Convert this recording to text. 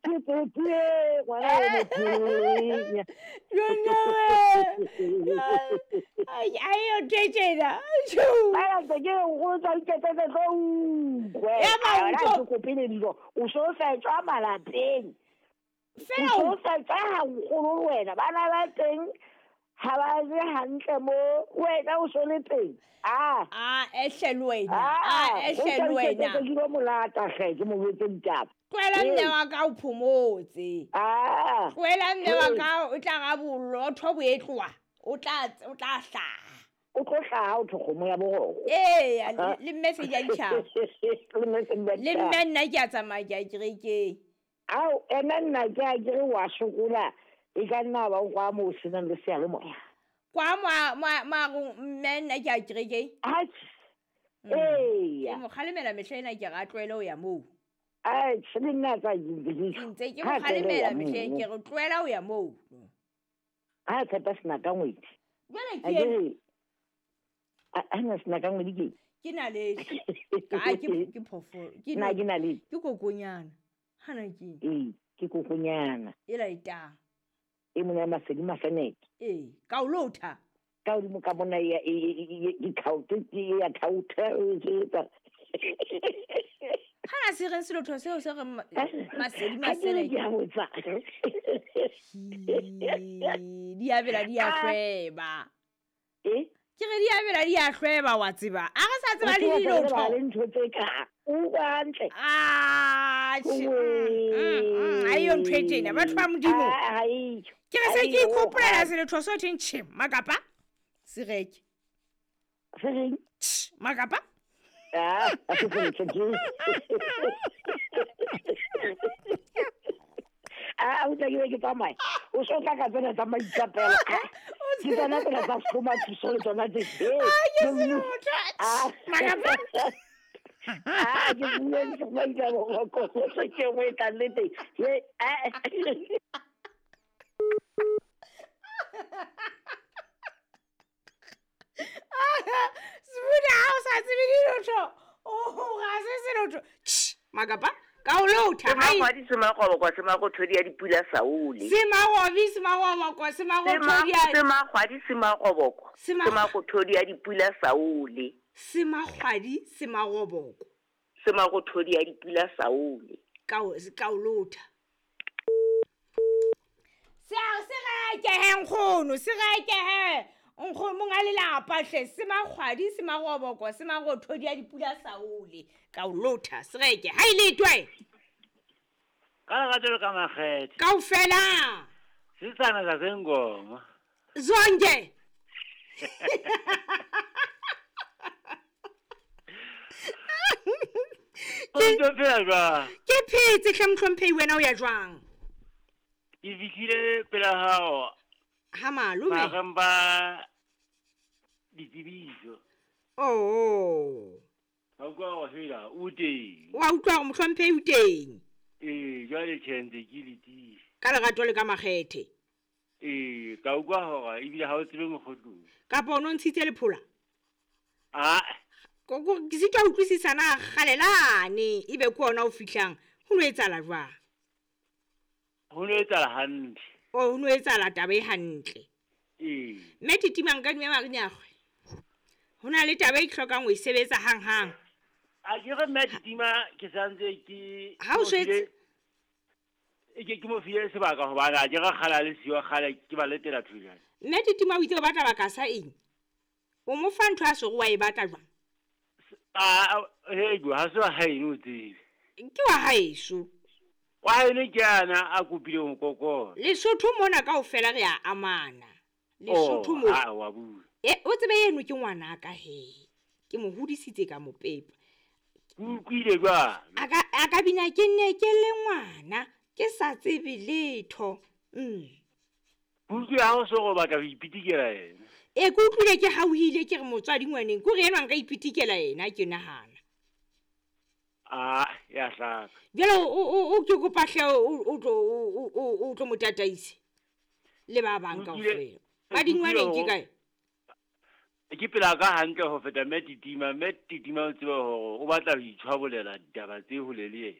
Ke tsotsi e ngwana o motho. Ayo thetšena. Fela ntse ke re nkgono tsa iketsetse tlo utlwe. Ya ba A wena utlwa. ha ke kope le dijo. O so fetswa malapeng. Fela O so fetswa ha nkgono le wena. Bana ba teng ha ba je hantle mo. Wena o so le teng. Ah. A ehle le wena. Ah, A ehle le wena. Ke lo molata hle ke mo jwetse ditaba. Tlohela mme wa ka o phomotse. Ah. Tlohela mme wa ka o tla ga bolotho bo e tloha. O tla hlaha. O tlo hlaha o thwe kgomo ya boroko. Ee, le mme se ja ditjhaba. Le mme se di a Le ditjhaba. mme nna ke a tsamaya ke a kerekeng. Ao, ena nna ke a kere wa sokola. E ka nna ba o kwa moo o senang le seyalemoya. Kwa mo mme nna ke a kerekeng. Atjhe. Eya. Ke mo kgalemela mehla ena ke re a tlohele ho ya moo. Atjhe, le nna tsa ke ntse ke Ke ntse ke mo Ha tlohele ho ya kgalemela mehleng moo. ke re tlohela ho ya moo. Ha tshepa sena ka ngwedi. Jwale A ke ke re, a na sena ka ngwedi ke? Ke naledi. Ka ke phoofolo. Ke Na ke naledi? Ke kokonyana. Hana ke. Ee, ke kokonyana. E laetang. E mona ya Masedi Mafeneke. Ee, ka o lotha. Ka hodimo ka mona ya, e, e, e, e, dikhaote, ke ya thaotha, e etsa. Hana se reng selotho seo se reng Masedi Ha ke re Maseneke. ke a botsa. Hee, di a bela di a Ah. hlweba. Eh? Ke re di a bela di a hlweba wa tseba. A re sa tseba le O tseba dilotho. ba le ntho tse ka. O utlwa hantle. Ah, tjhe, ha eyo ntho e tjena, batho ba Modimo. Ah, ha eyo. Ke re se Ha ke eyo, ikgopolela ha. selotho se thweng tjhe, makapa. Se reke. Se reng? Tjhe, makapa. Ah, ha se selotho ke. Ah, o tla ke be ke tsamaye. O so tla ka tsena tsa maikapelo. Ah, ke tsona tsena tsa hlomathiso le tsona tse. Ah, ke Ke selotho. Ah. Makapa. Ah, ke bua ke maikapelo, ko se ke nngwe e tlang le teng. He, ah. Sebuda ha o sa tsebe dilotho. Oh, ga se selotho. Tjhe, makapa. Ka o lotha. Hai. Semagwadi semagobokwa semagothodi ya dipula saole. Semagobi semagobokwa semagothodi ya Semagwadi semagobokwa semagothodi ya dipula saole. Semagwadi semagoboko. Semagothodi ya dipula saole. Ka o lotha. Se a se reke he nkgono, se reke he. Nkgono monga lelapa hle, semagwadi semagoboko semagothodi ya dipula saole. Ka o lotha, se reke. Ha ile twe. Ka lerato le ka makgethe. Kaofela. Setsana sa sengoma. Zonke. O ntso phela jwang? Ke phetse hle mohlomphehi, wena o ya jwang? Ke fihlile pela hao. Ha malome. Mahareng ba ditsebiso. Oh. Ka utlwa hore fela o teng. Wa utlwa hore mohlomphehi o teng. Ee, jwale tjhe ntse ke letile. Ka lerato le ka makgethe. Ee, ka utlwa hore ebile ha o tsebe mokgotlong. Kapa o no ntshitse lephola? Ah. Koko ke sitwa ho utlwisisa na kgalelane ebe ke ona o fihlang. Ho no etsahala jwang? Ho no etsahala hantle. O ho no etsahala taba e hantle. Ee. Mme Titima nka dume Marinyagwe. Ho na le taba e ke hlokang ho e sebetsa hanghang. A ke re mme Titima ke santse ke Ha o mo file swetse E ke ke mo file sebaka hobane a ke re kgale a le siyo, kgale ke ba letela thujana. Mme Titima o itse o batla baka sa eng? O mo fa ntho a sego wa e batla jwang? Ah, he jo, ha se wa haeno o tsebe. Ke wa haeso. Wa haeno ke ana a kopile ho kokota. Lesotho mona kaofela re a amana. Lesotho Oh, mo. ha, wa bua. E, o tsebe eno ke ngwanaka he. Ke mo hodisitse ka mo pepa. Ke utlwile jwalo. A ka bina ke nne ke le ngwana, ke sa tsebe letho. Ke utlwile ha o so go batla ho ipitikela yena. E, ke utlwile ke hauhile ke re motswadi ngwaneng, ke hore enwa nka ipitikela yena ke nahana. Ah, ya hlaka. Jwale o ke kopa hle o tlo mo tataise le ba bang Utlwile kaofela. Madingwaneng ke kae? Ke pela ka hantle ho feta mme Titima, mme Titima o tsebe hore o batla ho itshwabolela ditaba tse hole le yena.